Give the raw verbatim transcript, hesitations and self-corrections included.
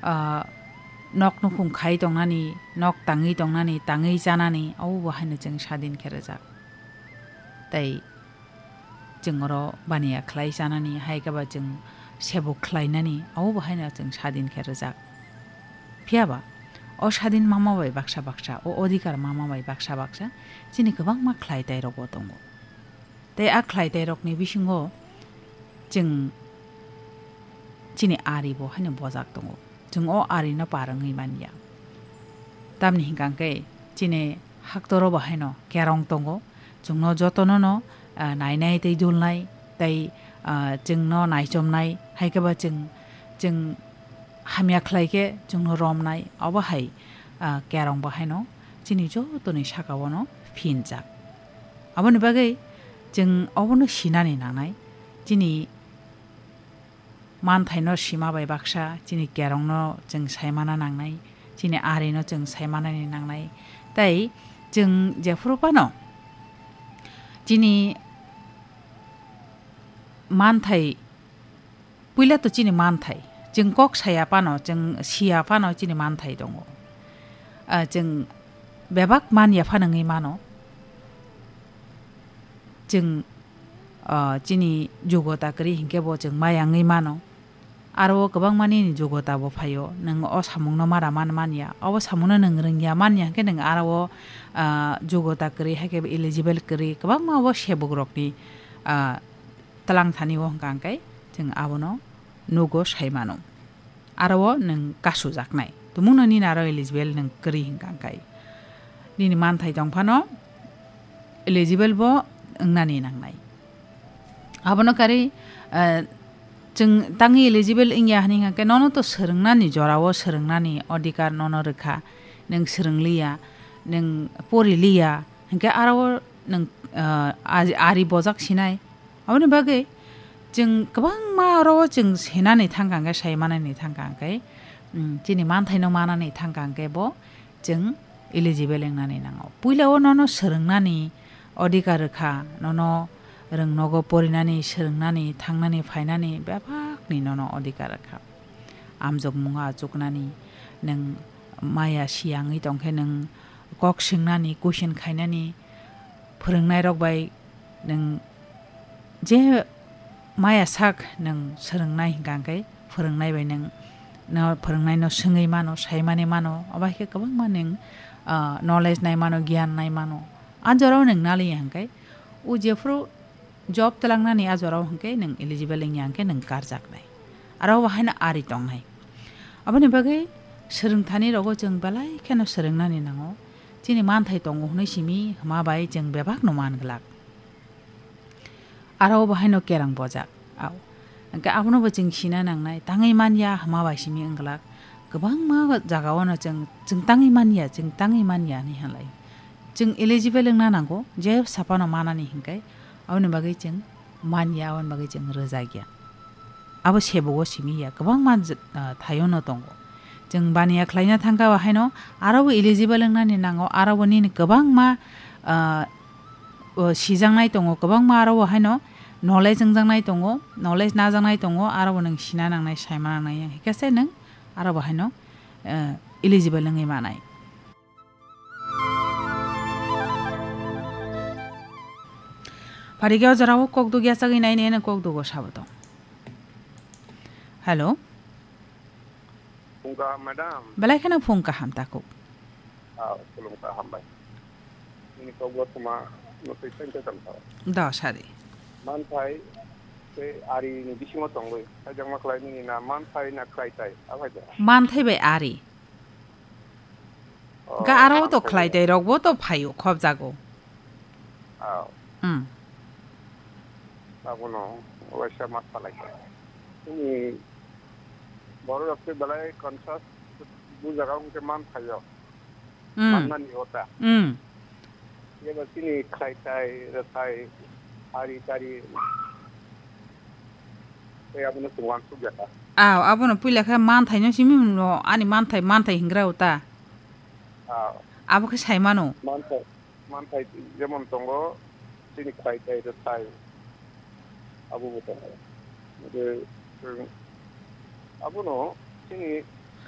ah, nok nukhung khai tongnani, nok tangwi tongnani, tangwi chanani, abo bo haino chwng sadin khe rwjak. Tei chwng oro baniya khlai chanani, hai khe ba chwng sebuk khlainani, abo bo haino chwng sadin khe rwjak. Phiya ba, o sadin mama bai baksa baksa, o odhikar mama bai baksa baksa, chini kwbangma khlai tai rok bo tongo. Tei a khlai tai rokni bisingo chwng chini ari bo haino bojak tongo. Chwng o ari no par wngwi man ya. Tamni hwnkha khe chini haktoro bo haino kerong tongo. Chwngno jotono no, ah, nainai tei dulnai tei, ah, chwngno naichomnai, hai khe ba chwng, chwng hamya khlai khe chwngno romnai, obo hai, ah, kerong bo haino chini jotoni saka-o no phinjak. Aboni bagwi chwng obono sinani nangnai, chini manthaino sima bai baksa, chini kerongno chwng saimana nangnai, chini arino chwng saimanani nangnai. Tei chwng jephuru phano chini manthai, puila to chini manthai, chwng kok saya phano, chwng siya phano chini manthai tongo. Ah, chwng bebak man ya phano wngwi mano. Chwng, ah, chini jogota kwrwi hinkhe bo chwng maya wngwi mano. Aro o kwbangma nini jogota bo phaio, nwng o samungno mara man manya, obo samungno nwng rwngya manya hinkhe nwng aro o, ah, jogota kwrwi hai khe eligible kwrwi kwbangma obo sebuk rokni, ah, twlang thani o hwnkha hwnkhe chwng abono nugo sai mano. Aro o nwng kasujaknai. Tumungno nini aro eligible nwng kwrwi hwnkha hwnkhe. Nini manthai tong phano eligible bo wngnani nangnai. Abono karwi, eh, chwng tangwi eligible wngya hwnwi hwnkha hwnkhe nono to swrwngnani jorao swrwngnani odhikar nono rwkha. Nwng swrwngliya, nwng poriliya, hwnkhe aro o nwng, eh, ari, ari bojak sinai. Aboni bagwi chwng kwbangma oro o chwng senani thangkha hwnkhe, sai manani thangkha hwnkhe, mm, chini manthaino manani thangkha hwnkhe bo chwng eligible wngnani nango. Puila o nono swrwngnani odhikar rwkha, nono rwngnogo porinani, swrwngnani, thangnani, phainani bebakni nono odhikar rwkha. Amjokmungo achuknani, nwng maya siyangwi tongkhe nwng kok swngnani, question khainani, phwrwngnairok bai nwng je maya sak nwng swrwngnai hwnkha hwnkhe phwrwngnai bai nwng no phwrwngnaino swngwi mano, saimani mano, obo hai khe kwbangma nwng, ah, knowledge nai mano, giyan nai mano. A jorao nwng naliya hwnkhe o jephuru job twlangnani a jorao hwnkhe nwng eligible wngya hwnkhe nwng karjaknai. Aro bo haino ari tongnai. Aboni bagwi swrwngthani rogo chwng belai kheno swrwngnani nango. Chini manthai tongo hwnwi simi hwma bai chwng bebakno man glak. Aro bo haino kerang bojak. Au. Hwnkhe abono bo chwng sina nangnai. Tangwi manya hwma bai simi wng glak. Kwbangma jagao no chwng, chwng tangwi manya, chwng tangwi manya hinwi halai. Chwng eligible wngna nango, je saphano manani hinkhe, aboni bagwi chwng manya, aboni bagwi chwng rwjakya. Abo sebogo simi ya, kwbangma j-, ah, thaio no tongo. Chwng baniya khlaina thangkha bo haino, aro bo eligible wngnani nango, aro bo nini kwbangma, ah, o sijaknai tongo, kwbangma aro bo haino knowledge wngjaknai tongo, knowledge najaknai tongo, aro bo nwng sina nangnai, saima nangnai, hikhe se nwng aro bo haino, eh, eligible wngwi manai. Pharikhe o jorao kok dugya chagwi nai nai kok dugo sabo tong. Hello. Phung kaham, madam. Belai kheno phung kaham takuk. Ah, khulumkha, hambai. Nini kok bo thuma no twi thank you. Da sari. Manthai tei ari ni bisingo tongwi. Kaijakma khlai nini na manthai na khlai tai. Abai da. Manthai bai ari. Oh, ga aro to manthai khlai bai. Tai rok bo to phaio khop jago. Ah. Hmm. Abono waisa ma khlai. Nini borok rok tei belai conscious bu jaga wngkhe manthaio. Hmm. Mannani ota. Hmm. Yaba chini khlai tai, rwthai, ari tari. Tei abono chwng uansuk ya ta. Aw, abono puila khe manthaino simi mano, ani manthai, manthai hingra ota. Aw. Abo khe sai mano. Manthai. Manthai jemon tongo, chini khlai tai rwthai, abo bo tongo. Hwnkhe, um, abono chini